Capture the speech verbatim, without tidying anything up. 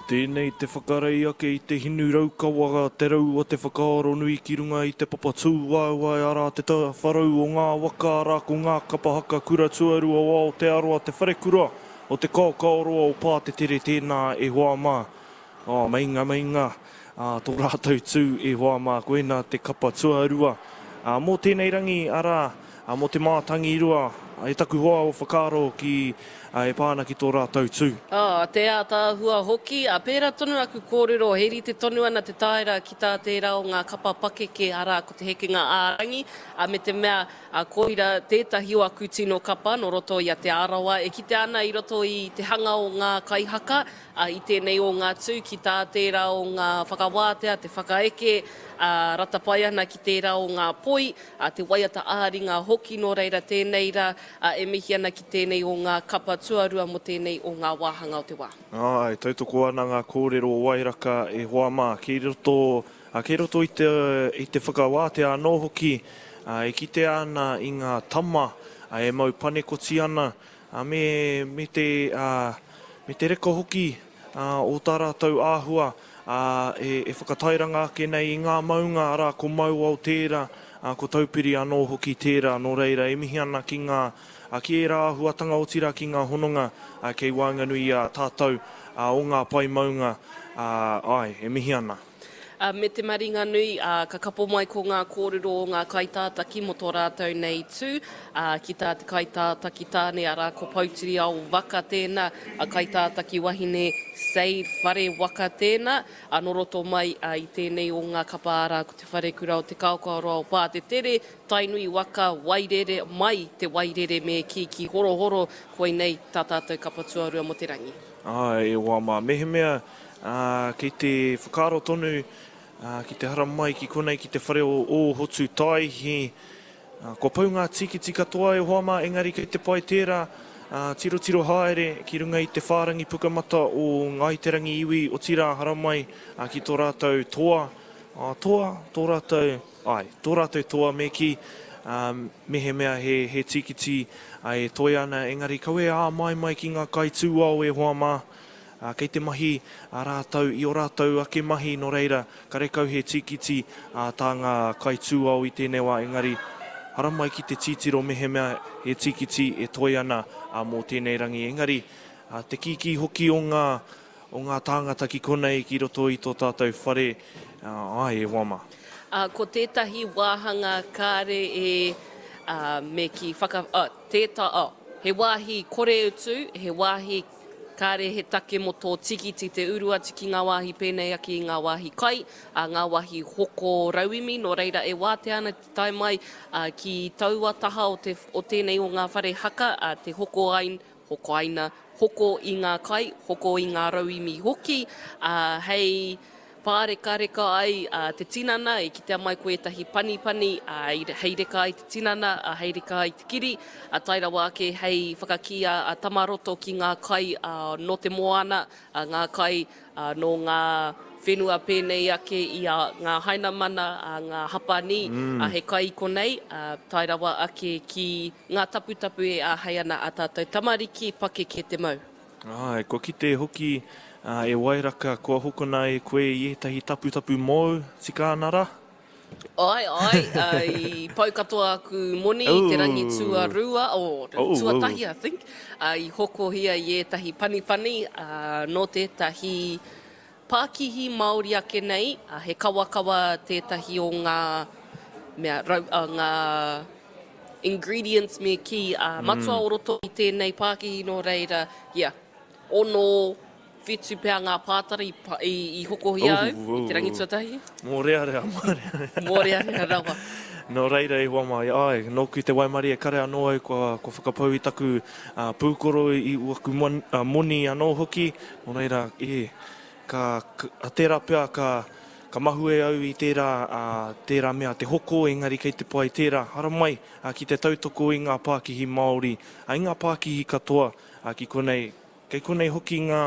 Tēnei te whakarei ake i te hinu raukawa, te rau o te whakaaro nui ki runga i te papa tūwaewae, arā te tawharau o ngā waka, arā ko ngā kapa haka kura tuarua o Aotearoa, te wharekura o Te Kaokaoroa o Pātetere tēnā e hoa mā. Oh, meinga, meinga, ā, tō rātou tū e hoa mā, koinā te kapa tuarua. Ā, mō tēnei rangi, arā, ā, mō te mātangirua, e taku hoa o whakaaro ki, ā, e pā ana ki tō rātou tū. Oh, te ātaahua hoki, ā, pērā tonu aku kōrero, he rite tonu ana te taera ki tā tērā o ngā kapa pakeke, arā, ko te hekenga ā-rangi, ā, me te mea, ā, koira tētahi o aku tino kapa nō roto i a Te Arawa, e kitea ana i roto i te hanga o ngā kaihaka, ā, i tēnei o ngā tū ki tā tērā o ngā whakawātea, te whakaeke, ā, rata pai ana ki tērā o ngā poi, ā, te waiata ā-ringa hoki, nō reira tēnei rā, ā, e mihi ana ki tēnei o ngā kapa tuarua mō tēnei o ngā wāhanga o te wā. Āe, tautoko ana ngā kōrero o Wairaka e hoa mā, kei roto, ā, kei roto i te, i te whakawātea anō hoki, ā, e kitea ana i ngā tama, ā, e mau panekoti ana, ā, me, me te, ā, me te reka hoki, ā, o tā rātou āhua, ā, e, e whakatairanga ake nei i ngā maunga, arā, ko Mauao tērā, ā, ko Taupiri anō hoki tērā, nō reira, e mihi ana ki ngā, ā, ki ērā āhuatanga, otirā ki ngā hononga, ā, kei waenganui i a tātou, ā, o ngā pae maunga, ā, āe, e mihi ana. Ā, me te maringanui, ā, ka kapo mai ko ngā kōrero o ngā kaitātaki mō tō rātou nei tū, ā, ki tā te kaitātaki tāne, arā, ko Poutiriao Waka tēnā, a kaitātaki wahine Sade Whare Waka tēnā, ā, nō roto mai, ā, i tēnei o ngā kapa, arā, ko Te Wharekura o Te Kaokaoroa o Pātetere, Tainui Waka, Wairere, mai te Wairere me kī ki Horohoro, koinei tā tātou kapa tuarua mō te rangi. Āe, e hoa mā, mehemea Ā, kei te whakaaro tonu, ā, ki te haramai ki konei ki te whare o Ōhotu Taihi. Ā, kua pau ngā tīkiti katoa e hoa mā, engari kei te pai tērā, ā, tirotiro haere ki runga i te whārangi pukamata o Ngāi Te Rangi iwi, otirā haramai, ā, ki tō rātou toa, ā, toa, tō rātou, āe, tō rātou toa me kī, ā, mehemea he, he tīkiti, ā, e toe ana, engari kaua e āmaimai ki ngā kaitūao e hoa mā. Ā, kei te mahi ā rātou i ō rātou ake mahi, nō reira, karekau he tīkiti ā tā ngā kaitūao i tēnei wā, engari haramai ki te tītiro mehemea he tīkiti e toe ana ā mō tēnei rangi. Engari, ā, te kīkī hoki o ngā, o ngā tāngata ki konei ki roto i tō tātou whare, ā, āe e hoa mā. Ā, ko tētahi wāhanga kāre e, ā, me kī whaka, ā, tēta, ā, he wāhi kore utu, he wāhi Kāre he take mō tō tīkiti te uru atu ki ngā wāhi pēnei ake i ngā wāhi kai, ā, ngā wāhi hoko rauemi, nō reira e wātea ana te tae mai, ā, ki taua taha o te, o tēnei o ngā whare haka, ā, te hoko ai, hokoaina, hoko i ngā kai, hoko i ngā rauemi hoki, ā, hei Pārekareka ai te tinana, i kitea mai ko ētahi panipani hei reka ai te tinana, hei reka ai te kiri, tae rawa ake hei whakakī a Tamaroto ki ngā kai nō te moana, ngā kai nō ngā whenua pēnei ake i a ngā Hainamana, ngā Hapanī, he kai i konei, tae rawa ake ki ngā taputapu e āhei ana ā tātou tamariki pakeke te mau. Āe, kua kite hoki e Wairaka, kua hokona e koe i ētahi taputapu mōu, tika ana rā? Āe, āe, i pau katoa aku moni i te rangi tuarua, oh, tuatahi I think, i hokohia i ētahi panipani nō tētahi pākihi Māori ake nei, he kawakawa tētahi o ngā mea, rau, ngā ingredients me kī, ā, matua o roto i tēnei pākihi nō reira, yeah, ono, whitu pea ngā pātara i, i, i hokohia au i te rangi tuatahi. Mōrearea, mōrearea. Mōrearea rawa. Nō reira i hoa mai, āe, nōku te waimarie kare anō au kua, kua whakapau i taku uh, pūkoro i waku mon, uh, moni anō hoki, nō reira, e, ka, ka, tērā pea ka, Ka mahue au i tērā, ā, tērā mea te hoko, engari kei te pai tērā. Haramai, ā, ki te tautoko i ngā pākihi Māori, ā, i ngā pākihi katoa, ā, ki konei. Kei konei hoki ngā.